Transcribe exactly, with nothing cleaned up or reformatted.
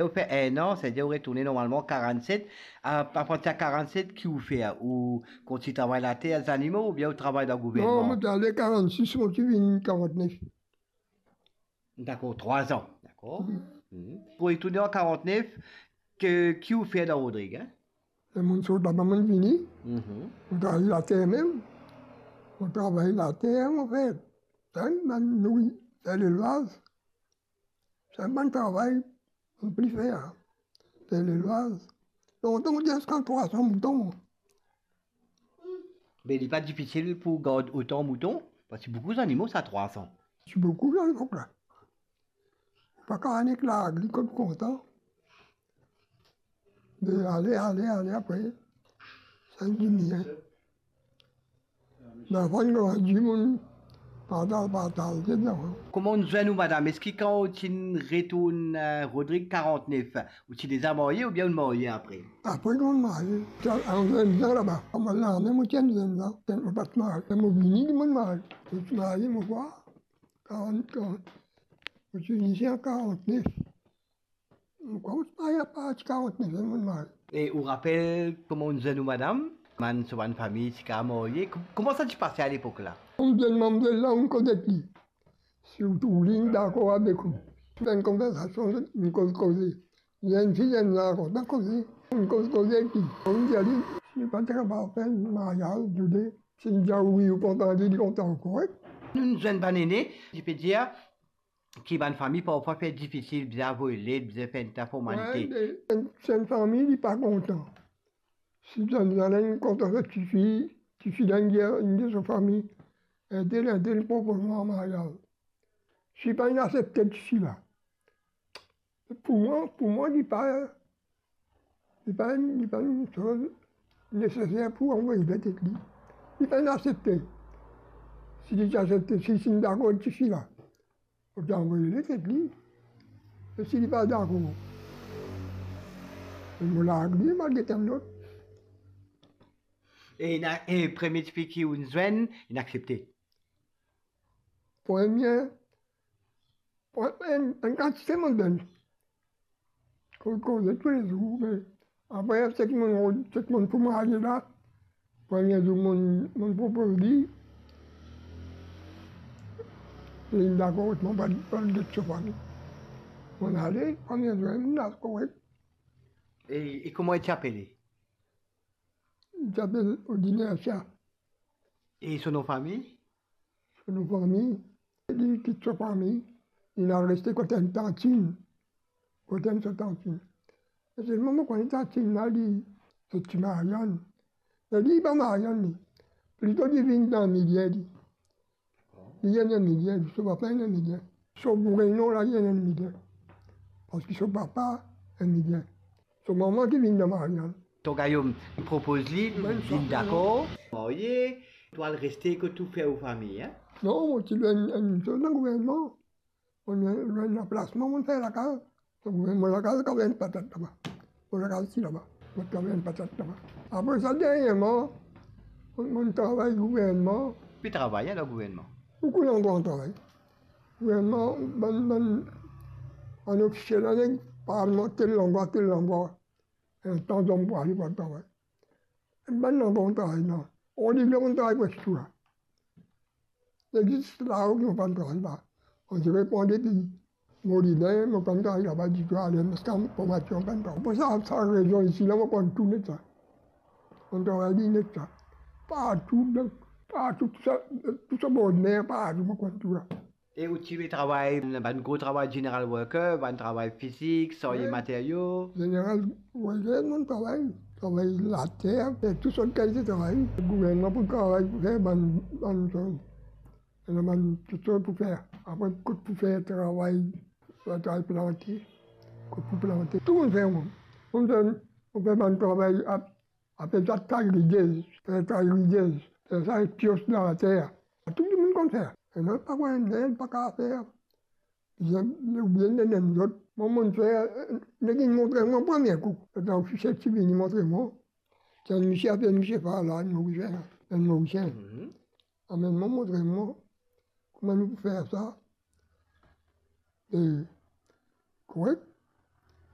Ou fer enn an, setadir ou retourne normalman karann-set. A, apartir karann-set, ki ou fer? Ou kontign travay later, zanimo, oubien ou travay dan gouvernman? Non, mo ti ale karann-sis, mo ti vini karant-nef. Dakor, trwa an. Dakor. Mm. Mm. Pou retourne an karant-nef, ki, ki ou fer dan Rodrig, en? Ler monn sort laba, monn vini. Mhm. Mo travay later mem. Mo travay later, mo fer. Sa bann nouri, fer lelvaz. Sa bann travay mo pli fer, fer lelvaz. Lontan, mo ti ena ziska trwa san mouton. Me li pa difisil pou gard otan mouton, parski boukou zanimo, sa trwa san. Ti boukou dan lepok la. Pa kapav nek larg li kot kontan. Me ale, ale, ale, apre, sa diminie. Bann zanfan inn grandi, monn partaz, partaz, etsetera. Kouma ou zwenn ou madam? Eski kan ou ti retourn, eh, Rodrig karant-nef, ou ti deza marye oubien ou marye apre? Apre ki monn marye, ti ena enn zenn zan laba. Kouma lame mo ti enn zenn zan, mo pa ti marye. Mo vini ki monn marye. Mo ti marye, mo krwar, karant, karant. Mo ti vini isi an karant-nef. Mo krwar mo ti marye apartir karant-nef, monn marye. E ou rapel kouma ou zwenn ou madam? Bann, so bann fami ti kapav marye? Kom-, kouma sa ti pase alepok la? Mo zwenn mamzel la, mo koz ek li. Si ou trouv li, li dakor avek ou. Fer enn konversasion, nou koz, koze. Zenn fi, zenn garson, kontan koze. Nou koz, koze ek li. Mo dir li, si li pa ti kapav fer maryaz, toude, si li dir wi, ou kontan, li kontan, korek. Nou zwenn bann ene, li pe dir, ki bann fami parfwa fer difisil, bizin avoy let, bizin fer enn ta formalite. Wi, me enn, si enn fami li pa kontan, si zot, zot inn kontan zot tifi, tifi la inn dir, inn dir so fami, entel, entel propoz mwa maryaz. Si li pa inn aksepte tifi la, pou mwa, pou mwa, li pa, li pa, li pa enn soz neseser pou avoy let ek li. Li pa inn aksepte. Si li ti aksepte, si, si li dakor tifi la, mo ti avoy let ek li. E si li pa dakor, mo larg li, mo al get enn lot. E ena, e premie tifi ki ou zwenn, inn aksepte? Premie, pre-, enn, enn kantite mo donn. Koz, koze toulezour, me apre, seki monn, seki monn pou marye la, premie zour monn, monn propoz li, li dakor, mo pa, pa get so fami. Monn ale, premie zour, li la korek. E, e kouma li ti apele? Li ti apel Odiner Sia. E so nom fami? So nom fami, li kit so fami, li al reste kot enn tantin. Kot enn so tantin. E selman mo kone tantin la, li, se ti Mariann. Me li pa Mariann, li. Plito li vinn dan Milie, li. Li enn Milie, li, so papa enn Milie. So vremem la, li enn Milie. Parski so papa enn Milie. So mama ki vinn dan Mariann. Ton Gayom, li propoz li, vinn dakor, marye, to al reste kot ou, fer ou fami, en? Non, mo ti lwe enn, enn soz dan gouvernman. Mo lwe enn laplasman, mo fer lakaz. Donk, mo lakaz kav enn patat laba. Mo lakaz ti laba. Mo kav enn patat laba. Apre sa, derniereman, mo, mo travay gouvernman. Pi travay, alor, gouvernman? Boukou landrwa mo travay. Gouvernman, bann, bann, bann ofisie la, neg parlman, tel landrwa, tel landrwa. Enn tan zom pou ale pou al travay. Bann landrwa mo travay la. Oliglo mo travay preske tou la. Zis lao ki mo pa'nn travay la. Mo ti reponn depi Molinen, mo pa'nn travay laba ditou, ale ziska formasion, mo pa'nn travay. Pou sa, sa rezion isi la, mo konn tou net sa. Mo travay li net sa. Partou, dan, partou, tou sa, tou sa bor mer, partou, mo konn tou la. E ou ti pe travay bann gro travay, general worker, bann travay fizik, sarye materio? General worker, mo travay, travay later, fer tou sort kalite travay. Gouvernman pou travay, pou fer bann, bann soz. Ena bann tou sort pou fer. Apre, kot pou fer travay, travay plante, kot pou plante. Tou mo fer mwa. Mo fer, mo fer bann travay ap-, apel sa tay ridez, fer tay ridez, fer sa ek pios dan later. Tou dimoun konn fer. Ena pa enn nek pa kav fer. Bizin, oubien ena enn lot. Mwa, mo fer, nek inn montre mwa premie kou. Letan ofisie ti vini montre mwa. Ti enn misie apel misie Farlan, Morisien, enn Morisien. Mhm. Amenn mwa, montre mwa kouma nou pou fer sa. E korek,